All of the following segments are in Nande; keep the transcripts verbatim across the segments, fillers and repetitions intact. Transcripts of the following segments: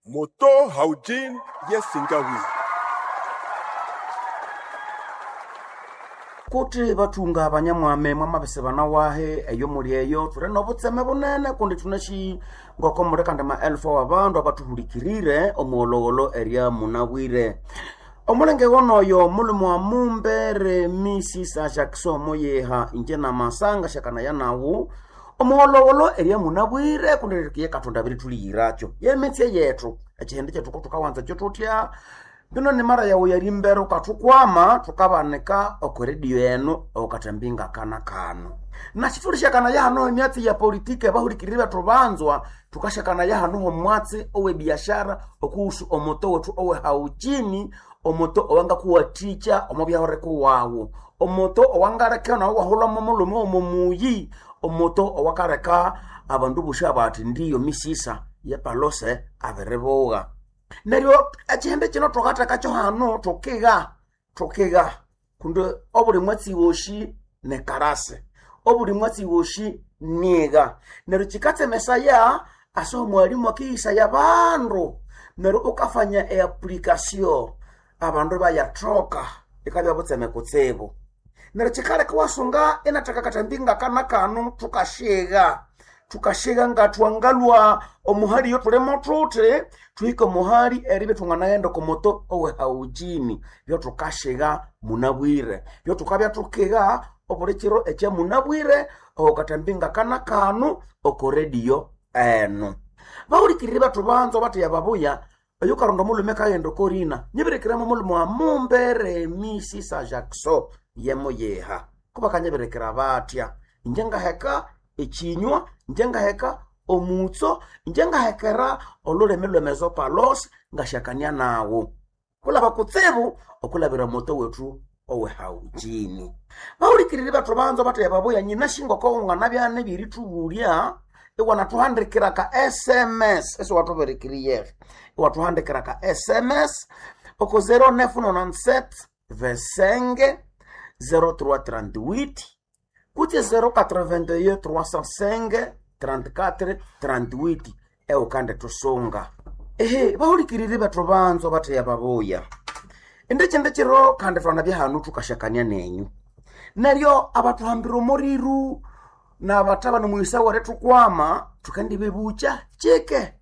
Moto Haujin Yesingawi. Kuti bathunga abanyamwame mwamabese bana wahe eyo muli eyo thuli nobutseme bunene kundi thunashi ngoko muli kandi maelfu awabandu abathuhulikirire omuwolowolo erya munabwire. Omulenge wonoyo mulhume wa Mumbere Misisa Jackson Muyiha inje namasanga syakanaya nawu omuwolowolo erya munabwire kundi rikiye Kathonda abirithuliyirakyo yemitse yethu ekihindi kyethu kothukawanza kyo thuthya. Bino ni mara yawu yerimbere ukathukwama thukabanika oko radio enu okathambinga ngakana kano. Na sithulishakana hano emyatsi ya politiki abahulikiriri bethu banzwa thukashakana hano omwatsi owe biashara okuhusu omuto wethu owe haujini omuto owangakuwathikya omo byahuriko wawu omuto owangaleka nawu iwahulhamo mulhume omo muyi omuto owakaleka abandu bosi abathi ndiyo misisa yepalose abiribugha. Neryo ekihindi kino thukathekakyo hano thukiga thukiga kundi obuli mwatsi wosi nikarasi obuli mwatsi wosi nigha neryo kikatsemesaya ase omwalimu akiyisaya abandu neryo ukafanya eapplication abandu ibayathoka ikabya butseme kutsibu. Neryo kikaleka iwasunga inatheka akathambi ngakana kano thukashigha thukashigha ngathwangalhwa omuhali eyothulimo thuthi thuhike omuhali eribya ithwanganaghenda oko muto owe haujini byothukashigha munabwire byothukabya thukiga obuli kiro ekya munabwire oko kathambi ngakana kano oko radio enu. Bahulikiriri bethu banza batheya babuya oyukaronda omulhume akaghenda oko rina nyibirikiramu omulhume wa Mumbere Misisa Jackson yemuyiha kubakanyibirikira bathya inje ngaheka ekinywa inje ngaheka omutso inje ngahekera olhulimi lw'emezopalos ngasyakania nawu kulaba kutsibu okulabira omuto wethu owe haujini. Bahulikiriri bethu banza batheya babuya nyinasi ngoko nganabya nibirithubulya iwanathuhandikira ka S M S esiwathubirikiriyeho iwathuhandikira ka S M S oko zero nine nine sept vingt-cinq zero trois trente-huit kutse zero quatre-vingt-un trois cent cinq trente-quatre trente-huit eukandithusunga. Ehe bahulikiriri bethu banza batheya babuya indi kindi kiro kandi thwanabya hanu thukashakania nenyu neryo abathuhambira omuriru nabathabana omuyisa werithukwama thukandibebukya kike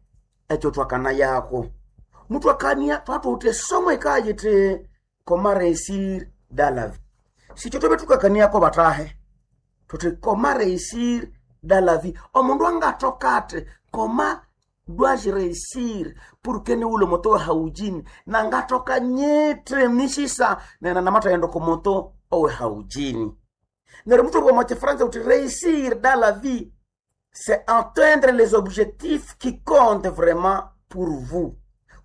ekyo thwakanayako muthwakania thwathuwithe esomo yikaya yithi comment réussir dans la vie. Sikyo thwabya thukakaniako bathahe thuthi comment réussir dans la vie omundu angathoka athi comment dois-je réussir pour que niwulhe omuto we haujini nangathoka nyithi misisa nena namathayenda oko muto owe haujini. Neryo muthobwa omo kifransa uthi réussir dans la vie c'est atteindre les objectifs qui comptent vraiment pour vous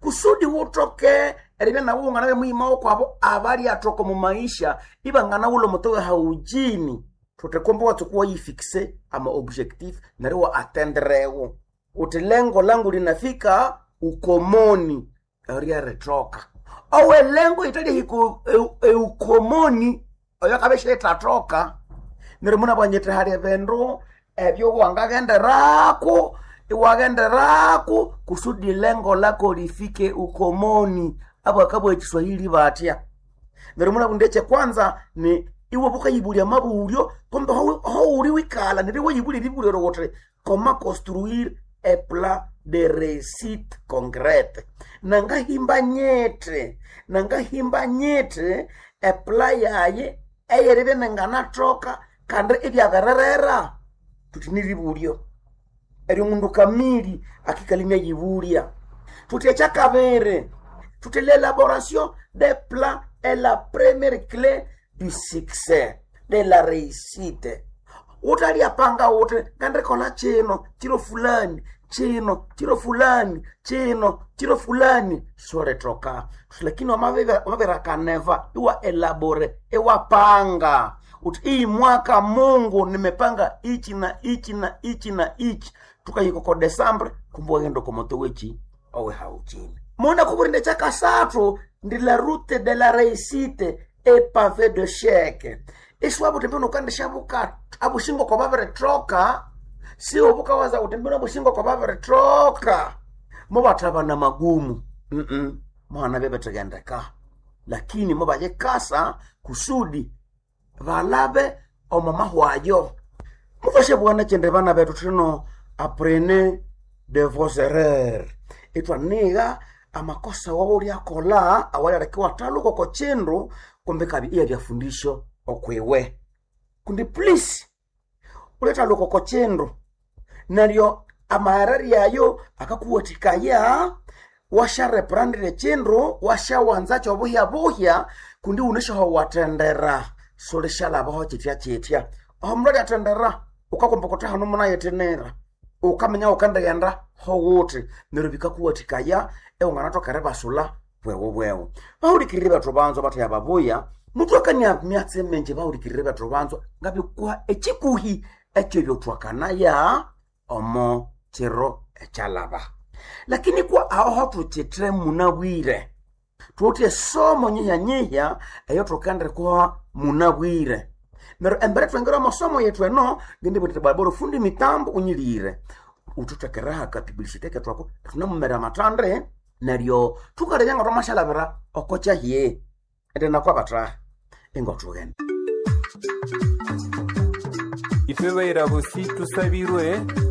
kusudi wuthoke eribya nawu wanganabe muyima wokwabo abalyathoka omu maisha ibanganawulha omuto we haujini thuthi kumbe iwatsuka iwayifixe ama objectif neryo iwa attenderewo uthi lengo langu linafika ukomoni eryarithoka owe lengo yithalyahika eukomoni oyo akabya isiyithathoka. Neryo munabwanyithe hali ebindu ebyo wangaghenderako iwaghenderako kusudi lengo lako lifike ukomoni abakabugha ekiswahili bathya. Neryo munabugha ekyekwanza ni iwe bukayibulya amabulyo kumbe howuli wikalha neryo iwayibulya eribulyo wuthi comment construire un plan de réussite concrète nangahimba nyithe nangahimba nyithe eplan yayi eyeribya ninganathoka kandi ibyabirerera thuthi niribulyo eryo mundu kamili akikalha inayibulya. Thuthi ekyakabiri thuthi l'élaboration des plans est la première clé du succès de la réussite. Wuthalyapanga wuthi ngandikolha kino kiro fulani kino kiro fulani kino kiro fulani siwulithoka lakini wamabirikaneva iwa elabore iwapanga uthi iyi mwaka Mungu nimepanga ichi na ichi na ichi na ichi thukahika oko December kumbe waghenda oko muto weki owe haujini. Muna kuburinda ekyakasathu ndi la route de la réussite est pavée de chèque isiwaba uthi mbino ukandishabuka abushingo kwa babirithoka siwo bukawaza uthi mbino abushingo kwa babirithoka Mubathabana magumu mm muhana byabethigendeka, lakini mubayikasa kusudi balabe omo mahwayo. Mukashabugha kyindi bana bethu thino, apprenez de vos erreurs, ithwanigha amakosa wawulyakolha awalyaliko iwathaluka oko kindu, kumbi kabi iyabyafundisyo okwiwe. Kundi please ulyathaluka oko kindu neryo amahereri ayo akakuwathikaya wasyareprandira ekindu, wasyawanza kyobuhya-buhya, kundi wunasyahowathendera sulisyalhabaho kyithya-kyithya. Aho mundu alyathendera wukakomba wuthi hano munayithinira, wukaminya wukendighenda howuthi, neryo bikakuwathikaya iwanganathoka eribasulha bweghu-bweghu. Bahulikiriri bethu banzwa bathaya babuya, muthwakania myatsi mingi. Bahulikiriri bethu banzwa, ngabikuha ekikuhi ekyebyothwakanaya omo kiro ekyalhaba. Lakini kwa aho thukyithe munabwire, thuwithe esomo nyihya-nyihya eyothukendiroha munabwire. Neryo embere thwingira omo somo yethu eno, ngindibugha indi bwabora fundi mitambo unyilire, uthuthekereho aka publicité kethu ako, thunamumera amathande, neryo thukalebya nga thwamasyalhabira oko kyahye. Indi nakwabathaha ingothughenda. Ife bayira bosi tusabirwe.